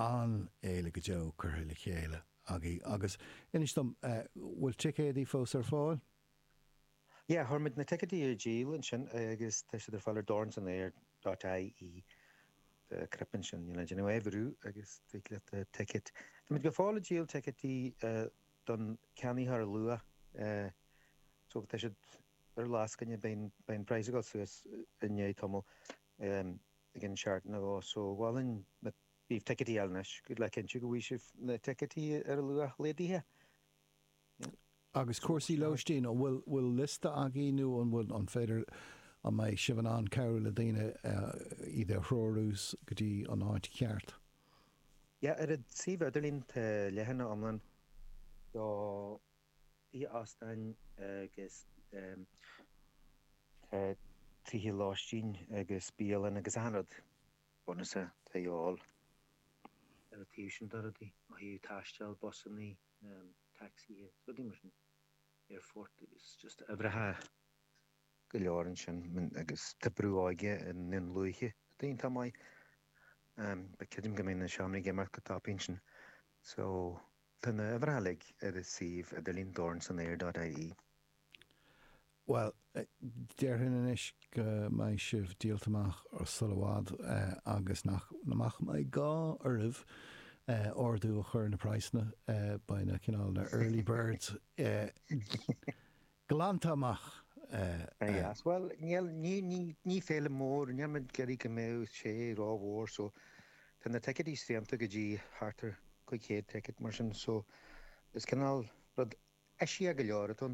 an-fhéile go deo curtha le chéile agaibh agus inis dom, bhfuil ticéadaí fós ar fáil? Yeah, chuir muid na ticéadaí ar díol ansin agus tá siad ar fáil ar dornsanaer dot ie. Tá cnaipe ansin, you know, déanamh é a bhrú agus tig leat ticéad. Tá muid go fóill ag díol ticéadaí don ceannaitheoir luath so tá siad ar lascaine, beidh an praghas ag dul suas i ndiaidh tamaill i gcionn seachtain nó dhó so mholfainn daoibh ticéadaí a fháil anois le cinntiú go bhfaighidh sibh na ticéadaí ar a luach laghdaithe. Agus cúrsaí lóistín, an bhfuil bhfuil liosta agaibh nó an bhfuil an féidir an mbeidh sibh in ann cabhrú le daoine iad a threorú go dtí an áit cheart? Yeah, ar an suíomh idirlín tá leathanach iomlán do tithe óstáin agus tá tithe lóistín agus bialann agus achan rud bunúsach atá de dhíobháil ar an taobh sin de rudaí, ó thaobh taisteal, busannaí, tacsaithe, rudaí mar sin, aerfort agus just uimhreacha go leor ansin agus tá brú óige i nDún Lúiche atá iontach maith but creidim go mbeidh na seomraí ag imeacht go tapaidh ansin so tá na uimhreacha uilig ar an suíomh idirlín dornsanaer dot ie. Bhuel, déarfainn anois go mbeidh sibh díolta amach sula i bhfad agus nach mbeidh gá oraibh ardú a chur ar na praghsanna. Beidh na cineál na early birds glanta amach. Yes, bhuel, níl, ní, ní, ní féile mór, níl muid ag iarraidh go mbeadh sé rómhór so tá na ticéidí srianta go dtí thart ar 500 ticket mar sin so is cineál rud Eisiach go leor atá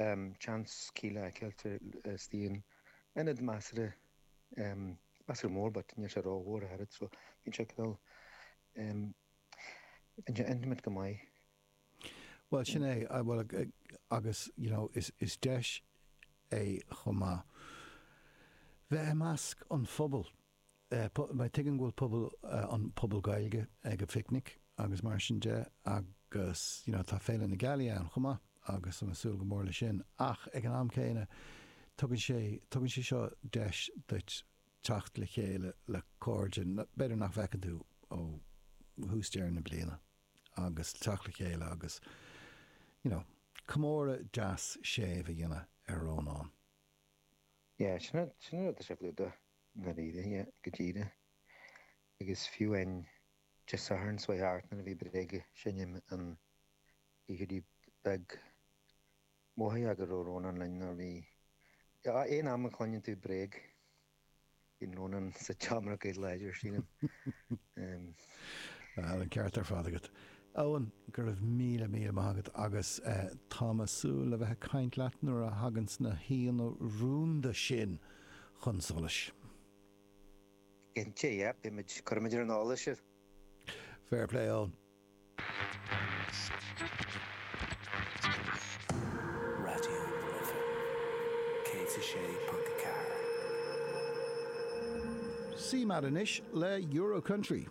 ann, seans Kíla a fheiceáil istigh in ionad measartha, measartha mór but níl sé rómhór ach oiread so bíonn sé cineál, bíonn sé intimate go maith. Bhuel sin é, bhuel agus you know is is deis é chomh maith bheith i measc an phobail. Tuigim go bhfuil pobal, an pobal Gaeilge ag an phicnic agus mar sin de agus you know tá Féile na Gealaí ann chomh maith agus tá mé ag súil go mór leis sin ach ag an am céanna tugann sé, tugann sé seo deis duit teacht le chéile le cairde b'fhéidir nach bhfeiceann tú ó thús deireadh na bliana agus teacht le chéile agus you know comóradh deas séimh a dhéanamh ar Rónán. Yeah, sin an rud atá sé clúdach i ndáiríre, yeah, go díreach. Agus fiú amháin Dé Sathairn seo thart nuair a bhí Bréag ag seinm an oíche beag, mhothaigh go raibh Rónán linn nuair a bhí, aon am a chluineann tú Bréag, Bíonn Rónán sa tseomra go láidir, sílim. Bhuel, an ceart ar fad agat. Eoin, go raibh míle, míle maith agat agus táim ag súil le bheith ag caint leat nuair a thaganns na haíonna rúnda sin chun solais. Cinnte, yeah, beimid, cuirfimid ar an eolas sibh. Fair play, Eoin. Raidió na Life 106.4. CMAT anois le Euro Country.